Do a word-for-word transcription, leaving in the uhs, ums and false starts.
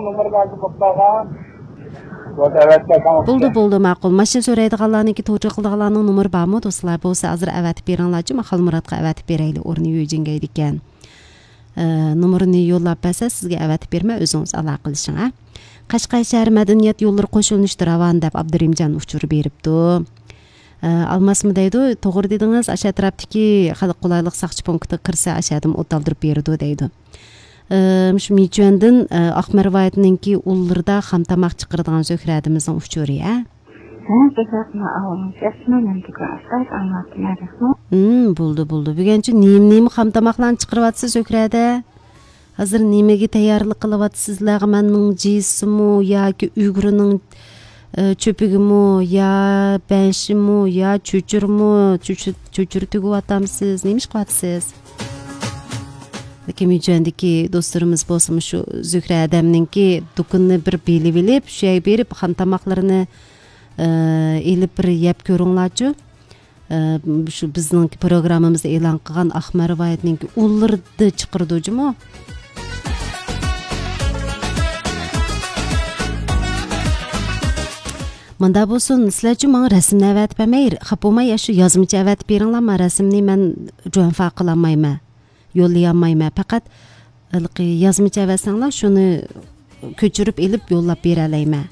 نومۇرلارنى قويۇپ قالغان. بولدى، ئەۋەتسەڭ. بولدى، بولدى، ماقۇل. ماشىنا سورايدىغانلارنىڭكى، توجا قىلىدىغانلارنىڭ نومۇرى بارمۇ، دوستلار؟ بولسا ھازىر ئەۋەتىپ بېرىڭلارچۇ، مەن خالمۇراتقا ئەۋەتىپ بېرەيلى، ئورنى يۈجىنگەيدىكەن. ئە، نومۇرىنى يوللاپ بەرسە، سىزگە ئەۋەتىپ بېرىمەن، ئۆزىڭىز ئالاقىلىشىڭ، ھە. قەشقەر شەھەر مەدەنىيەت يوللىرى قوشۇلۇشتا راۋان دەپ ئابدۇرېھىمجان ئۇچۇر بېرىپتۇ. ئە، ئالماسمۇ دەيدۇ، توغرا دېدىڭىز، ئاشۇ ئەتراپتىكى خەلق قولايلىق ساقچى پونكىتىغا كىرسە، ئاشۇ يەردىن ئوت ئالدۇرۇپ بېرىدۇ دەيدۇ. ئە، مۇشۇ مىچۈەندىن، ئە، ئاقمەر ۋىلايىتىنىڭكى ئۇللىرىدا خام تاماق چىقىرىدىغان زۆھرەدىمىزنىڭ ئۇچۇرى، ھە؟ ھە، بىزنىڭ ئاۋۇلنىڭ ئىسمى مەن بۈگۈن ئاستا ئاڭلاتتىم. ھىم، بولدى، بولدى. بۈگۈنچە نېمە، نېمە خام تاماقلارنى چىقىرىۋاتىسىز زۆھرەدە؟ ھازىر نېمىگە تەييارلىق قىلىۋاتىسىز؟ لەغمەننىڭ جىسىمۇ ياكى ئۈگرىنىڭ، ئە، چۆپىگىمۇ يا بەنشىمۇ يا چۆچۈرىمۇ؟ چۆچۈر، چۆچۈر تۈگۈۋاتامسىز؟ نېمە ئىش قىلىۋاتىسىز؟ لېكىن مىچۈەندىكى دوستلىرىمىز بولسىمۇ شۇ زۆھرە ھەدەمنىڭكى دۇكىنىنى بىر بىلىۋېلىپ، شۇ يەرگە بېرىپ خام تاماقلىرىنى، ئە، ئېلىپ بىر يەپ كۆرۈڭلارچۇ. ئە، شۇ بىزنىڭ پروگراممىمىزدا ئېلان قىلغان ئاقمەر ۋىلايىتىنىڭكى ئۇللىرىدا چىقىرىدۇ جۇمۇ. مۇندا بولسۇن، سىلەرچۇ ماڭا رەسىمنى ئەۋەتىپ بەرمەي، خاپا بولماي، يا شۇ يازمىچە ئەۋەتىپ بېرىڭلار، مەن رەسىمنى مەن جۇەنفا قىلالمايمەن، يوللىيالمايمەن. پەقەت ھېلىقى يازمىچە ئەۋەتسەڭلار، شۇنى كۆچۈرۈپ ئېلىپ يوللاپ بېرەلەيمەن.